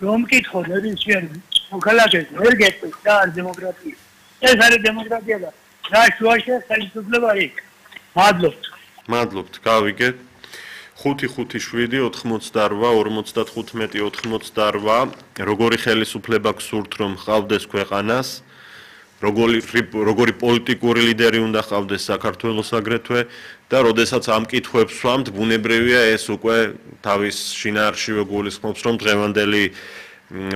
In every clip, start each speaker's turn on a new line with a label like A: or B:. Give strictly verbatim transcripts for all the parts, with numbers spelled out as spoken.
A: რომ მკითხო ნებისმიერ მოქალაქეს ვერ გეტყვით და არ დემოკრატია. ეს არის დემოკრატია და რა შუაში ხელისუფლება იქ. მადლობთ.
B: მადლობთ, გავიგეთ. ხუთი ხუთი შვიდი ოთხმოცდაორვა ორმოცდათხუთმეტი ოთხმოცდაორვა როგორი ხელისუფლება გსურთ რომ ხავდეს ქვეყანას როგორი როგორი პოლიტიკური ლიდერი უნდა ხავდეს საქართველოს აგრეთვე და როდესაც ამ კითხვებს ვსვამთ ბუნებრივია ეს უკვე თავის შინაარსშივე გულისხმობს რომ დღევანდელი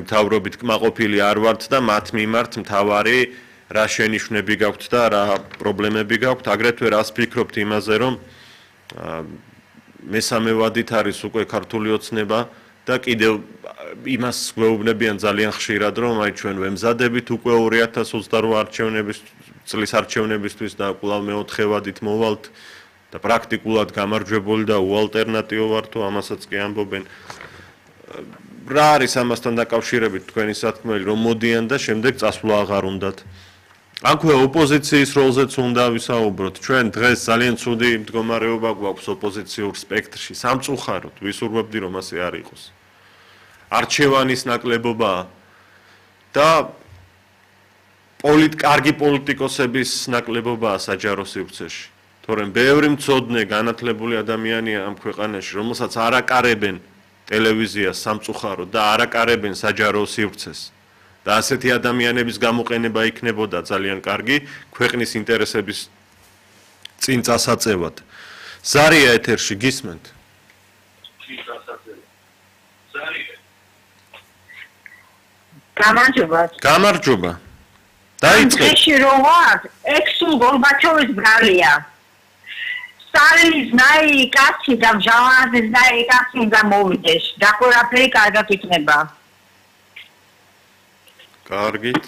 B: მთავრობით კმაყოფილი არ ვართ და მათ მიმართ მთავარი რა შენიშვნები გაქვთ და რა პრობლემები გაქვთ აგრეთვე რას ფიქრობთ იმაზე რომ მესამე ვადით არის უკვე ქართული ოცნება და კიდევ იმას გვეუბნებიან ძალიან ხშირად რომ აი ჩვენ ვემზადებით უკვე ორი ათას ოცდაორვა არჩევნების წლის არჩევნებისთვის და კვლავ მეოთხე ვადით მოვალთ და პრაქტიკულად გამარჯვებული და უალტერნატივო ვართო ამასაც კი ამბობენ რა არის ამასთან დაკავშირებით თქვენი სათქმელი რომ მოდიან და შემდეგ წასვლა აღარ უნდათ აქვე ოპოზიციის როლზეც უნდა ვისაუბროთ. ჩვენ დღეს ძალიან ცუდი მდგომარეობა გვაქვს ოპოზიციურ სპექტრში. სამწუხაროდ ვისურვებდი რომ ასე არ იყოს. არჩევანის ნაკლებობაა და პოლიტ კარგი პოლიტიკოსების ნაკლებობაა საჯარო სივრცეში. თორემ ბევრი მცოდნე განათლებული ადამიანია ამ ქვეყანაში, რომელსაც არ აკარებენ ტელევიზიას სამწუხაროდ და არ აკარებენ საჯარო სივრცეს. და ასეთი ადამიანების გამოყენება იქნებოდა ძალიან კარგი ქვეყნის ინტერესების წინ წასაწევად. ზარია ეთერში გისმენთ?
C: გამარჯობა.
B: გამარჯობა. დაიწყეთ.
C: ეში რო ვარ, ექსულ გორბაჩოვის ბრალია. სტალინის ნაი კაცი და მჟავაძის ნაი კაცი და მოვიდეს. და ყველაფერი კარგად იქნება.
B: კარგით,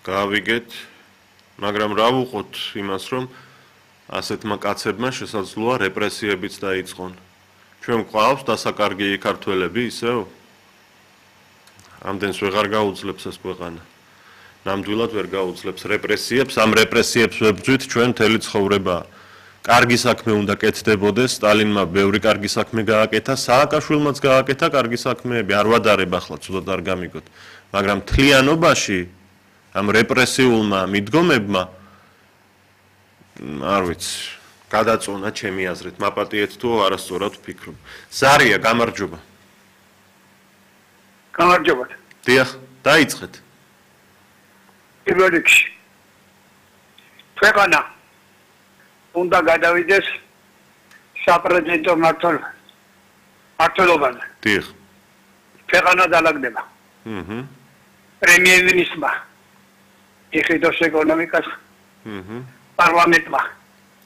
B: გავიგეთ, მაგრამ რა ვუყოთ იმას, რომ ასეთმა კაცებმა შესაძლოა რეპრესიებიც დაიწყონ. ჩვენ გვყავს დასაკარგი ქართველები ისევ? ამდენს ვეღარ გაუძლებს ეს ქვეყანა. ნამდვილად ვერ გაუძლებს რეპრესიებს, ამ რეპრესიებს ვებრძვით ჩვენ მთელი ცხოვრება. კარგი საქმე უნდა კეთდებოდეს, სტალინმა ბევრი კარგი საქმე გააკეთა, სააკაშვილმაც გააკეთა კარგი საქმეები, არ ვადარებ ახლა, ცუდად არ გამიგოთ. მაგრამ თლიანობაში ამ რეპრესიულმა მიდგომებმა არ ვიცი, გადაწონა ჩემი აზრით, მაპატიეთ თუ არასწორად ვფიქრობ. ზარია, გამარჯობა.
A: გამარჯობა.
B: დიახ, დაიწყეთ.
A: პირველ რიგში ქვეყანა უნდა გადავიდეს საპრეზიდენტო მმართველობაზე.
B: დიახ.
A: ქვეყანა დალაგდება.
B: აჰა.
A: პრემიერ-მინისტრმა იხილოს ეკონომიკას.
B: აჰა.
A: პარლამენტმა.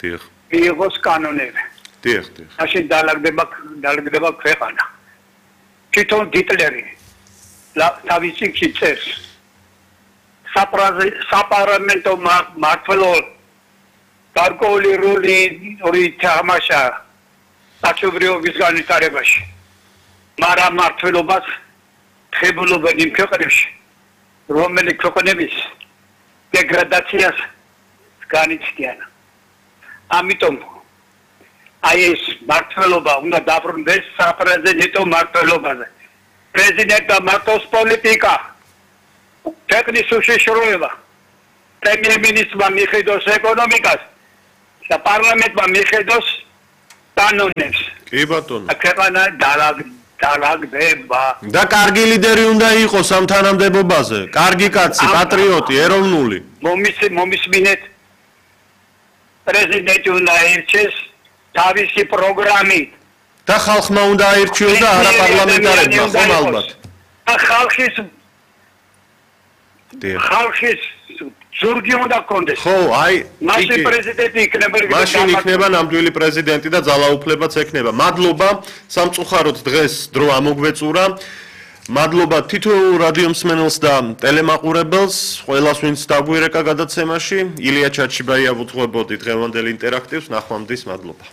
B: დიახ.
A: მიიღოს კანონები.
B: დიახ, დიახ.
A: ასე დალაგდება დალაგდება ქვეყანა. თვითონ ჰიტლერი თავისი წერს საპარლამენტო მმართველობა გარკვეული როლი ორი თამაშა საჩუბრიობის განვითარებაში. მაგრამ მმართველობას ხებულობენ იმ ქვეყნებში, რომელი ქვეყნების დეგრადაციას განიცდიან. ამიტომ აი ეს მმართველობა უნდა დაბრუნდეს საპრეზიდენტო მმართველობაზე. პრეზიდენტმა მარტოს პოლიტიკა, ქვეყნის უშიშროება, პრემიერ-მინისტრმა მიხედოს ეკონომიკას და პარლამენტმა მიხედოს კანონებს.
B: კი ბატონო.
A: ქვეყანა დალაგდება.
B: და კარგი ლიდერი უნდა იყოს ამ თანამდებობაზე. კარგი კაცი, პატრიოტი, ეროვნული.
A: მომისმინეთ პრეზიდენტი უნდა აირჩიოს თავისი პროგრამით.
B: და ხალხმა უნდა აირჩიოს და არა პარლამენტარებმა, ხომ ალბათ.
A: და ხალხის ხალხის ზურგი უნდა კონდეს.
B: ხო, აი,
A: მაშინ პრეზიდენტი იქნება.
B: მაშინ იქნება ნამდვილი პრეზიდენტი და ძალაუფლებაც ექნება. მადლობა, სამწუხაროდ დღეს დრო ამოგვეწურა. მადლობა თითოეულ რადიო მსმენელს და ტელემაყურებელს, ყველას ვინც დაგვირეკა გადაცემაში. ილია ჩაჩიბაია ვუძღვებოდი დღევანდელ ინტერაქტივს, ნახვამდის, მადლობა.